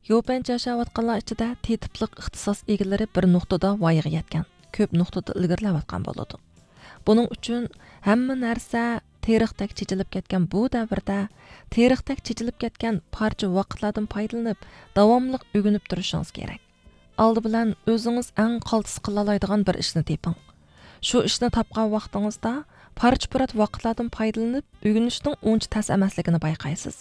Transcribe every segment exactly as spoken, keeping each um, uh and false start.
يوپەنچە ياشاۋاتقانلار ئىچىدە تېتىپلىق ئىختىساس ئىگىلىرى بىر نۇقتىدا ۋايىغا يەتكەن، كۆپ نۇقتىدا ئىلگىرىلەۋاتقان بولىدۇ. بۇنىڭ ئۈچۈن ھەممە نەرسە تېرىقتەك چېچىلىپ كەتكەن بۇ دەۋردە تېرىقتەك چېچىلىپ كەتكەن پارچە ۋاقىتلاردىن پايدىلىنىپ، داۋاملىق ئۆگىنىپ تۇرۇشىڭىز كېرەك. ئالدى بىلەن ئۆزىڭىز ئەڭ قالتىس قىلالايدىغان بىر ئىشنى تېپىڭ. شۇ ئىشنى تاپقان ۋاقتىڭىزدا پارچە-پۇرات ۋاقىتلاردىن پايدىلىنىپ ئۆگىنىشنىڭ ئۇنچە تەس ئەمەسلىكىنى بايقايسىز.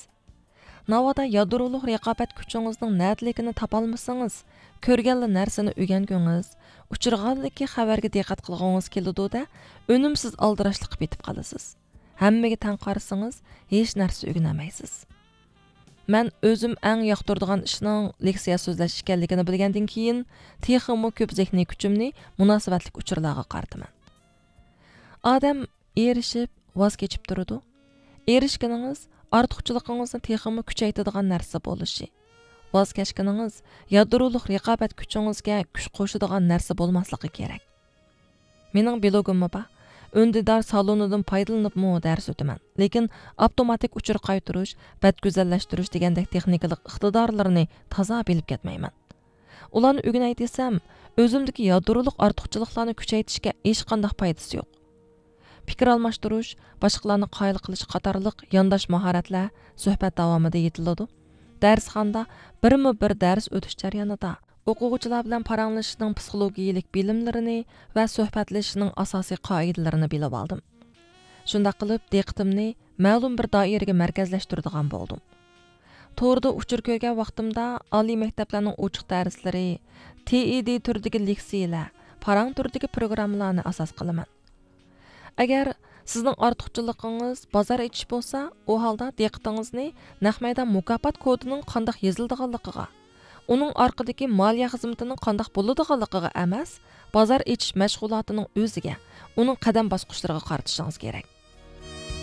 ناۋادا يادرولۇق رىقابەت كۈچىڭىزنىڭ نەدىلىكىنى تاپالمىسىڭىز، كۆرگەنلا نەرسىنى ئۆگەنگۈڭىز، ئۇچرىغانلىكى خەۋەرگە دىققەت قىلغۇڭىز كېلىدۇ-دە، ئۈنۈمسىز ئالدىراشلىققا پېتىپ قالىسىز. ھەممىگە تەڭ قارىسىڭىز، ھېچ نەرسە ئۆگىنەلمەيسىز. مەن ئۆزۈم ئەڭ ياقتۇرىدىغان ئىشنىڭ لېكسىيە سۆزلەش ئىكەنلىكىنى بىلگەندىن كېيىن، تېخىمۇ كۆپ زېھنىي كۈچۈمنى مۇناسىۋەتلىك ئۇچۇرلارغا قارىتىمەن. ئادەم ئېرىشىپ، ۋاز كېچىپ تۇرىدۇ. ئېرىشكىنىڭىز ئارتۇقچىلىقىڭىزنى تېخىمۇ كۈچەيتىدىغان نەرسە بولۇشى، ۋاز كەچكىنىڭىز يادرولۇق رىقابەت كۈچىڭىزگە كۈچ قوشىدىغان نەرسە بولماسلىقى كېرەك. مېنىڭ بىلوگۇممۇ بار. ئۈندىدار سالونىدىن پايدىلىنىپمۇ دەرس ئۆتىمەن، لېكىن ئاپتوماتىك ئۇچۇر قايتۇرۇش، بەت گۈزەللەشتۈرۈش دېگەندەك تېخنىكىلىق ئىقتىدارلىرىنى تازا بىلىپ كەتمەيمەن. ئۇلارنى ئۆگىنەي دېسەم، ئۆزۈمدىكى يادرولۇق ئارتۇقچىلىقلارنى كۈچەيتىشكە ھېچقانداق پايدىسى يوق. پىكىر ئالماشتۇرۇش، باشقىلارنى قايىل قىلىش قاتارلىق يانداش ماھارەتلەر سۆھبەت داۋامىدا يېتىلىدۇ. دەرسخانىدا بىرمۇ بىر دەرس ئۆتۈش جەريانىدا ئوقۇغۇچىلار بىلەن پاراڭلىشىشنىڭ پسىخولوگىيىلىك بىلىملىرىنى ۋە سۆھبەتلىشىشنىڭ ئاساسىي قائىدىلىرىنى بىلىۋالدىم. شۇنداق قىلىپ، دىققىتىمنى مەلۇم بىر دائىرىگە مەركەزلەشتۈرىدىغان بولدۇم. توردا ئۇچۇر كۆرگەن ۋاقتىمدا ئالىي مەكتەپلەرنىڭ ئوچۇق دەرسلىرى، تېئىدې تۈرىدىكى لېكسىيىلەر، پاراڭ تۈرىدىكى پروگراممىلارنى ئاساس قىلىمەن. ئەگەر سىزنىڭ ئارتۇقچىلىقىڭىز بازار ئېچىش بولسا، ئۇ ھالدا دىققىتىڭىزنى نەق مەيدان مۇكاپات كودىنىڭ قانداق يېزىلىدىغانلىقىغا، ئۇنىڭ ئارقىدىكى مالىيە خىزمىتىنىڭ قانداق بولىدىغانلىقىغا ئەمەس، بازار ئېچىش مەشغۇلاتىنىڭ ئۆزىگە، ئۇنىڭ قەدەم باسقۇچلىرىغا قارىتىشىڭىز كېرەك.